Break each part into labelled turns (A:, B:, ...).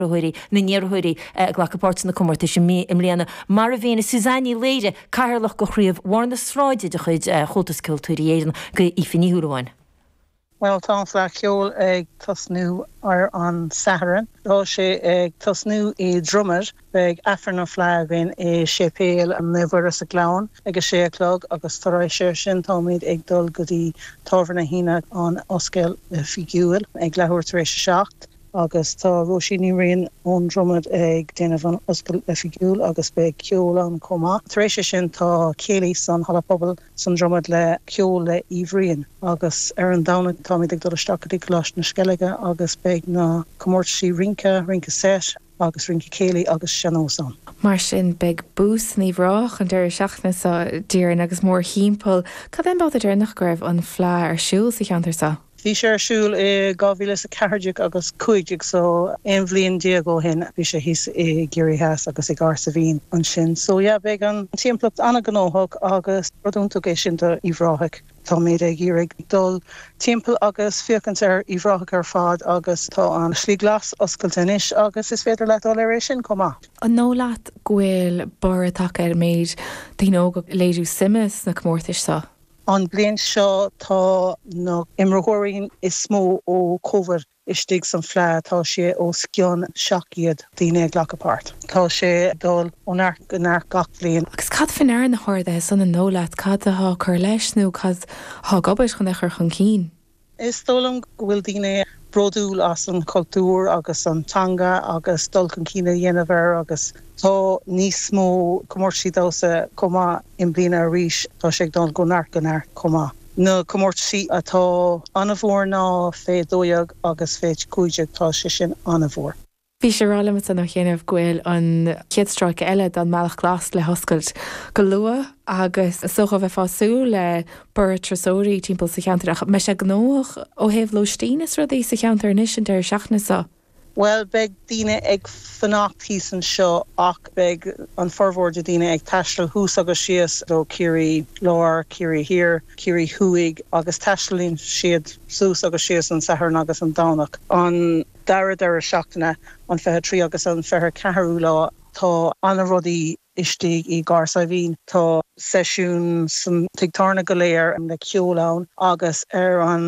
A: Iarrthóirí na n-iarrthóirí a ghlacfaidh páirt sna comórtais i mbliana, mar a mhínigh Suzanne Ní Laoire, Cathaoirleach de Chraobh Bharr na Sráide de chuid Chomhaltas Ceoltóirí Éireann, go Aoife Ní Shúilleabháin.
B: Bhuel, tá an Fleadh Cheoil ag tosnú ar an Satharn. Tá sé ag tosnú i Dromad. Beidh Aifreann an Fleadh againn i Séipéal Naomh Mhuire sa Ghleann ag a sé a chlog agus tar éis ar sin táimid ag dul go dtí Tábhairne na hAoine an oscailt oifigiúil ag leathuair tar éis a 7. Agus tá Róisín Ní Riain ón Dromad ag déanamh an oscailt oifigiúil agus beidh ceol ann chomh maith. Tar éis sin tá céilí san Halla Pobail san Dromad le ceol le Aoibh Ryan. Agus ar an Domhnach táimid ag dul isteach go dtí Coláiste na Sceilge agus beidh na comórtaisí rince, rince seit agus rince céilí agus sean-nós ann.
C: Mar sin beidh bús in Uíbh Ráthach an deireadh seachtaine seo, déarfainn, agus mórthimpeall. Cad é an babhta deireanach go raibh an Fleadh ar siúl sa cheantar seo?
B: Bhí sé ar siúl i 2014 agus 15 so 11 bhliain ó shin. Bhí sé thíos i gCiarraí Theas agus i gCathair Saidhbhín ansin. So yeah beidh an timpeallacht an-ghnóthach agus rud iontach é sin do Uíbh Ráthaigh. Táimid ag iarraidh dul timpeall agus féachaint ar Uíbh Ráthaigh ar fad agus tá an Slí Glas oscailte anois agus is féidir leat dul ar é sin chomh maith.
C: An dóigh leat go bhfuil borradh tagtha ar an méid daoine óga ag léiriú suime sna comórtais seo?
B: An bliain seo tá na imreoirí is mó ó Covid istigh san Fleadh, tá sé os cionn 700 daoine ag glacadh páirt. Tá sé ag dul ó neart go neart gach bliain.
C: Agus cad faoi ndeara na harduithe san an dóigh leat? Cad atá ag cur leis nó cad atá ag obair chun é a chur chun cinn?
B: Is dóigh liom go bhfuil daoine bródúil as an chultúr agus an teanga agus dul chun cinn a dhéanamh air agus tá níos mó comórtaisí damhsa chomh maith i mbliana arís. Tá sé ag dul ó neart go neart chomh maith. Na comórtaisí atá an-mhór ná fé 12 agus fé 15, tá sé sin an-mhór.
C: Bhí sé ag rá liom ansan ó chianaibh go bhfuil an chéad stráice eile den mBealach Glas le hoscailt go luath agus is dócha bheifeá ag súil le borradh turasóirí timpeall sa cheantar ach mbeidh sé gnóthach ó thaobh lóistín is rudaí sa cheantar anois an deireadh seachtaine seo.
B: Bhuel, beidh daoine ag fanacht thíos anseo ach beidh an formhór de daoine ag taisteal thuas agus síos ó Ciarraí Láir, Ciarraí Thiar, Ciarraí Thuaidh agus taistealaíonn siad suas agus síos an Satharn agus an Domhnach. An. dara deireadh seachtaine, an 23 agus an 24ú lá, tá ana-rudaí istigh i gCathair Saidhbhín. Tá seisiún san tigh tábhairne go léir le ceol ann agus ar an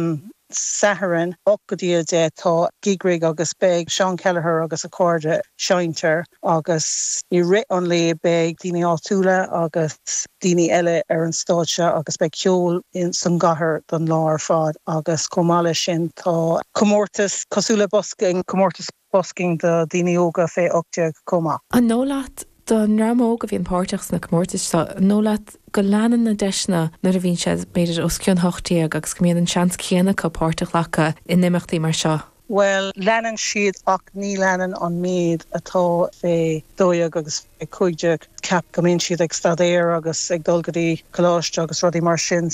B: Satharn, 8 go dtí 10, tá Gig Rig agus beidh Seán Kelleher agus a chairde seinnt agus i rith an lae beidh daoine áitiúla agus daoine eile ar an stáitse agus beidh ceol san gcathair don lá ar fad agus chomh maith leis sin tá comórtas cosúil le busking, comórtas busking do daoine óga fé 18 chomh maith.
C: An dóigh leat, don dream óg a bhíonn páirteach sna comórtais seo, an dóigh leat go leanann na deiseanna nuair a bhíonn siad b'fhéidir os cionn 18 agus go mbíonn an seans céanna acu páirt a ghlacadh in imeachtaí mar seo?
B: Bhuel, leanann siad ach ní leanann an méid atá fé 12 agus fé 15. Ceapaim go mbíonn siad ag staidéar agus ag dul go dtí coláiste agus rudaí mar sin.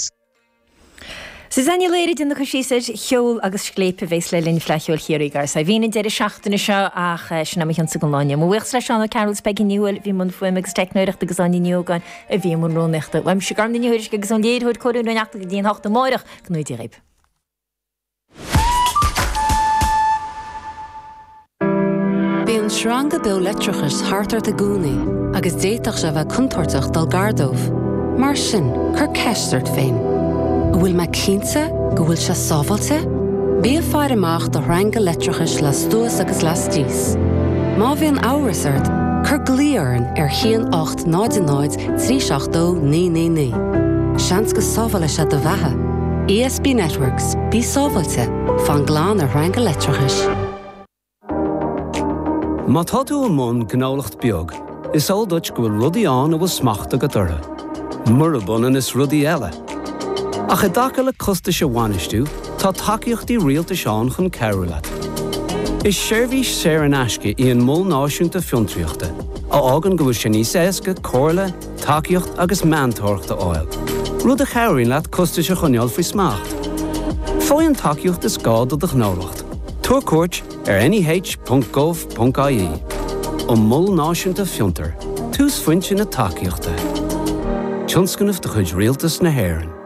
A: Suzanne Ní Laoire ag déanamh cur síos ar cheol agus scléip a bhéas le linn Fleadh Cheoil Chiarraí i gCathair Saidhbhín an deireadh seachtaine seo ach sin é mo chionsa don lá inniu. Mo bhuíochas le Seán Ó Cearúil is Peigí Ní Thuathail a bhí i mbun fuaime agus teicneoireachta agus Áine Ní Ógáin a bhí i mbun rúnaíochta. Uaimse Gormfhlaith Ní Thuairisg agus ón léiritheoir Cóilín Ó Neachtain go dtí an hocht amáireach go ngnóthaí Dia dhaoibh.
D: Bíonn sreanga beo leictreachais thart ort i gcónaí agus d'fhéadfadh sé a bheith contúirteach dul gar dóibh. Mar sin, cuir ceist ort féin, An bhfuil mé cinnte go bhfuil sé sábháilte? Bí ag faire amach do shreanga leictreachais lastuas agus lastíos. Má bhíonn amhras ort, cuir glao orainn ar 1 8 0 0 3 7 2 9 9 9. Seans go sábhálfaidh sé do bheatha. ESB Networks, bí sábháilte, fan glan ar shreanga leictreachais.
E: Má tá tú i mbun gnólacht beag, is eol duit go bhfuil rudaí ann a bhfuil smacht agat orthu, murab ionann is rudaí eile. Ach i dtaca le costais a bhainistiú, tá tacaíochtaí rialtais ann chun cabhrú leat. Is seirbhís saor in aisce í an Mol Náisiúnta Fiontraíochta, a fhágann go bhfuil sé níos éasca comhairle, tacaíocht agus meantóireacht a fháil, rud a chabhraíonn leat costais a choinneáil faoi smacht. Faigh an tacaíocht is gá do do ghnólacht. Tabhair cuairt ar neh.gov.ie. An Mol Náisiúnta Fiontar, túsphointe na tacaíochta. Tionscnamh de chuid Rialtas na hÉireann.